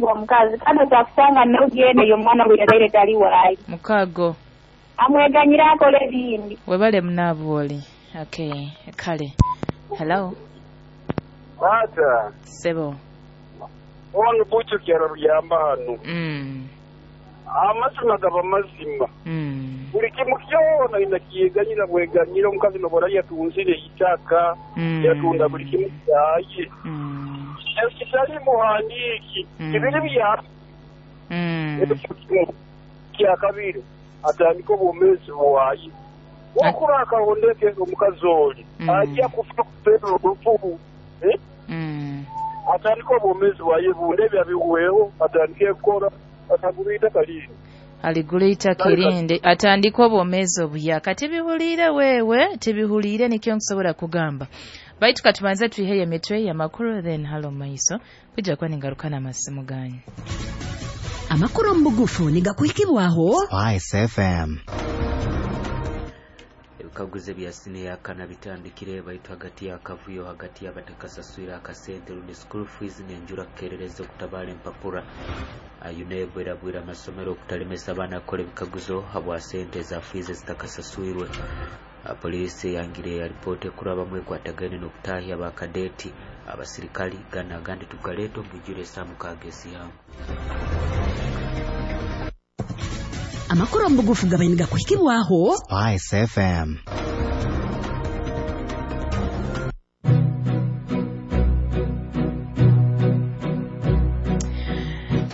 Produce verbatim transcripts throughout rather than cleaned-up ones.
Omukazi kandi otakusanga n'ogenda eyo omwana gwe yazaire tali waayo. Mukago. Amweganyira akola ebindi. Webale munaabwoli. Okay, kale. Hello. Tata. Sebo. Ono bucho kyara ruyamba hano. Mm. Amazima gaba mazima. Mm. Buli kimu kyona inakiyeganyira bweganyira omukazi nobora yatunzire itaka. Mm. Yatunda buli kimu kyaye. Mm. Ekitali muhandiiki. Mm. Ebiri bya. Mm. Ebyo kya kabiri atandika obwomeezi bwaye. Wakura akahondeke omukazi oli. Mm. Ajja kufa kupera olufu. Eh? Mm. Atandika obwomeezi bwaye bunde byabiweewo atandike kukora atagula itaka lindi. Aligula itaka erindi atandika obwomeezi obuyaka. Tibihuliire wewe, tibihuliire nikyo nkusobola kugamba. Baitu katubanze tuiheyo emitwe y'amakuru then halo maiso kujja kuba ningaruka n'amasimu ganyu. Amakuru mu bugufu nigakuhikibwaho Spice F M. Ebikaguzo bya siniya yakana bitandikire baitu hagati y'akavuyo hagati y'abatakasaswira akasente rundi school fees n'enjura kukerereza okutabala empapura. U N E B erabwira amasomero okutalemesa abaana kukora ebikaguzo habwa sente za fees ezitakasaswirwe. Poliisi yangire alipoota ekurabamu ekwatagaine n'okutahya abakadeti abasirikali gana agandi tugaleeta omubwijwire esaaha mukaaga esihamu. Amakuru mu bugufu gabaye nigakuhikibwaho Spice F M.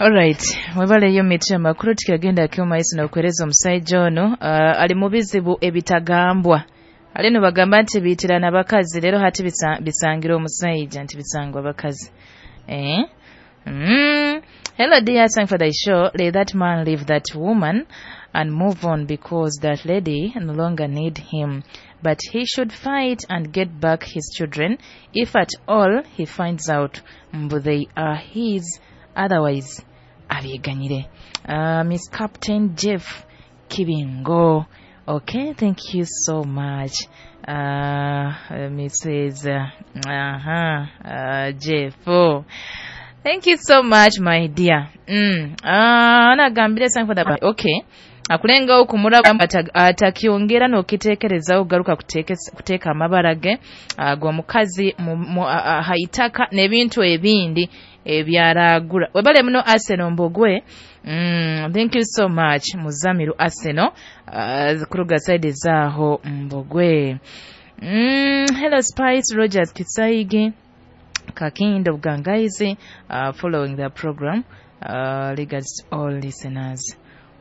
Alright, mwebaleyo mitwe amakuru tukagenda kyoma isi n'okwereza omusajja ono uh, ali mu bizibu ebitagambwa. Ali bagamba nti biitirana abakazi leero hati bisa, bisangira omusajja nti bisangwa abakazi. Eh? Mm. Hello dear, thank for the show. Let that man leave that woman and move on because that lady no longer need him. But he should fight and get back his children if at all he finds out mbu they are his. Otherwise, abyeganyire. Uh, Miss Captain Jeff Kibingo. Okay, thank you so much. Uh, Missus Uh, uh-huh, uh, Jeff. Oh. Thank you so much, my dear. Mm. Ah, anagambire sangu for the okay. Akulenga okumuraba atakyongera n'okiteekereza ogaruka kuteeka amabara ge ag'omukazi haitaka n'ebintu ebindi ebyaragura. Webale muno Arsenal Mbogwe. Mm, thank you so much Muzamiru Arsenal uh, kuruga side zaho Mbogwe. Mm, hello Spice Rogers Kisaigi Kakindo Bugangaizi uh, following the program. Uh, regards to all listeners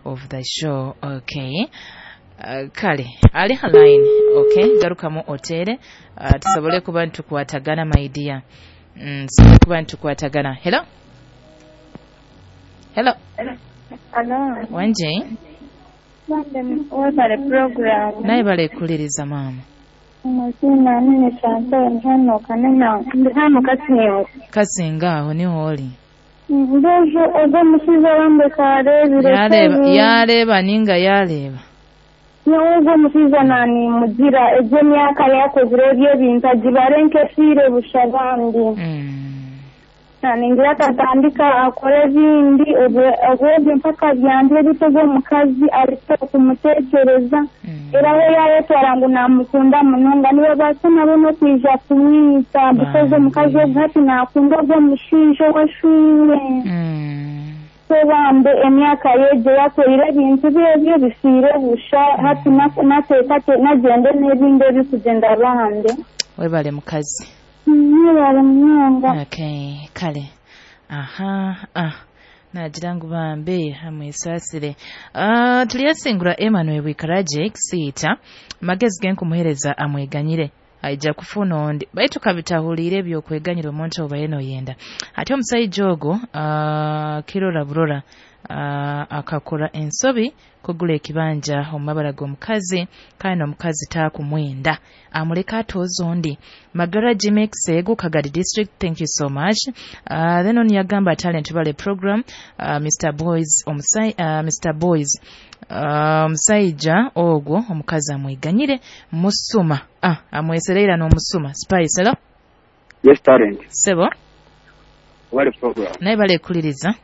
of the show. Okay. Uh, kale ali line. Okay, garukamu otere uh, tusobole kuba ntukwatagana my dear. Mm, tusobole kuba ntukwatagana. Hello. Hello. Hello. Wanje. Webale program. Naye bale kuliriza mama. Amazina nene Chantal hano kanena ndi hano Kasinga. Kasinga aho niho oli. Ndojo ogwo musiza wambe karebire. Yareba yareba ninga yareba. Nyowe musiza nani mugira ejo myaka yakozire ebyo bintu agibarenke fire bushabandi. Mm. Nani ngira tatandika akore bindi obwo mpaka byanje bitego omukazi ariko kumutekereza. Mm. Era we yayetwara ngu namukunda munonga niwe basa nabo n'okwija kumwita because omukazi ogwo hati nakunda ogwo omushaija ow'eshure. Mm. Bambe emyaka yejo yakoire ebintu byebyo bifiire busha hati nateekate nagende n'ebindi ebikugenda bambe. Webale mukazi. Webale munonga. Okay, kale. Aha, ah. Nagira ngu bambe hamwesasire. Ah, tuliyasingura Emmanuel Wikaraje Kisiita magezi ge nkumuhereza amweganyire. Aija kufuna ondi baitu kabitahuliire ebyokweganyira omuntu oba yena oyenda. Ate omusajja ogwo uh, kirora burora uh, akakora ensobi kugula ekibanja omu mabara g'omukazi kandi n'omukazi taakumwenda amuleka atooza ondi. Magara Jimex Ego Kagadi District, thank you so much. Uh, then on yagamba talent valley program uh, Mister Boys omusai, uh, Mister Boys omusajja uh, ogwo omukazi amweganyire musuma ah amwesereera n'omusuma. Spice hello. Yes talent. Sebo. Wale program. Naye bale kuliriza.